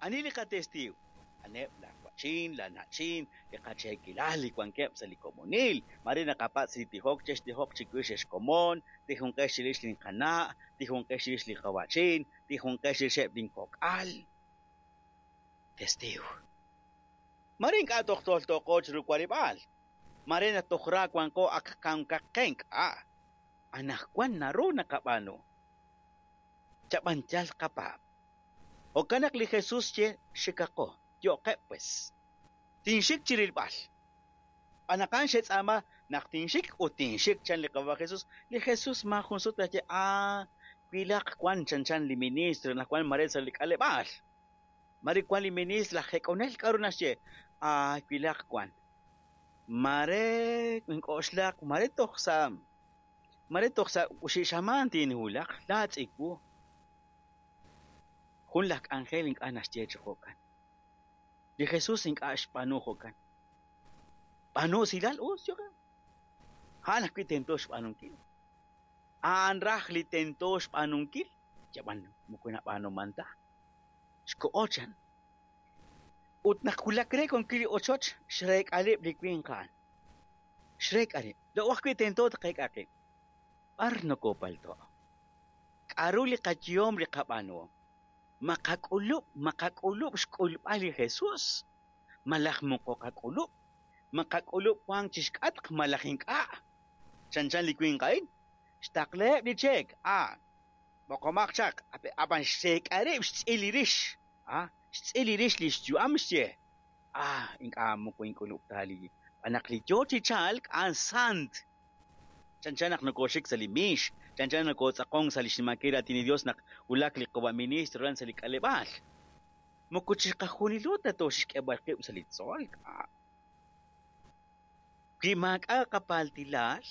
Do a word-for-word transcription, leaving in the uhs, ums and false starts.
Ani li qatestiiw? Aneb' la wa'chin, la na'chin, li qacheekilal li wankeb' sa' li komonil. Mare naqapatz' li tijok, chextijoq chiwix ex komon, tijunqex chirix linqana', tijunqex chirix li qawa'chin, tijunqex chirixeb' linkok'al. Testiiw. Mare ink'a' toj toltoqo chiru warib'aal. Mare naq toj ra wanqo ak kankaqen k'a. Anaqwan naru naqab'aanu. Chab'an yal qapaab'. Jo'kan naq li Jesús ye xikaqo, yo'qeb' pues. Tinxik chirilb'al. Anaqan xetz'aama naq tinxik ut tinxik chan li qawa Jesús. Li Jesús ma jun sut ye ah wilaq wan chan chan li ministro naq wan mare sa' li k'aleb'aal. Mare wan li ministro laj jek'onel k'aru naxye ah wilaq wan. Mare ink'oxlaq mare toj sa' mare toj sa' uxixaman tinhulaq laatz'iku. Jun laj k'anjel ink'a' naxye chi jo'kan. Li Jesús ink'a' xb'aanu jo'kan. B'aanu usilal us yo'qeb'. A'an ajwi' tento xb'aanunkil. A'an raj li tento xb'aanunkil, yab'an moko nab'aanuman ta. Xko'o chan. Ut naq wulak re konkil li ochoch, xreek'aleb' li winq a'an. Xreek'aleb'. Laa'o ajwi' tento taqeek'a qib'. B'ar nokopalto'. K'aru li qayehom li qab'aanuhom. Maqak'ulub', maqak'ulub' xk'ulb'al li Jesús. Malaj moko qak'ulub'. Maqak'ulub' wank chixk'atq malaj ink'a'. Chan chan li winq a'in. Xtaqleheb' li cheek. Ah, b'oqomaq chaq. Ab'an xreek'arib' xtz'il li rix. Ah, xtz'il li rix li xyu'am xye. Ah, ink'a' moko ink'ulub' ta li. Naq li yo chi chalk a'an sant. Chan chan naq nokoxik sa' li miix. Chan chan nokotz'aqon sa' li xnimankil raatin li Dios naq wulak li qawa ministro ran sa' li k'aleb'aal. Moko chiqajunilo ta tooxk'eb'al qib' sa' li tzol. Wi maak'a' qapaltilal,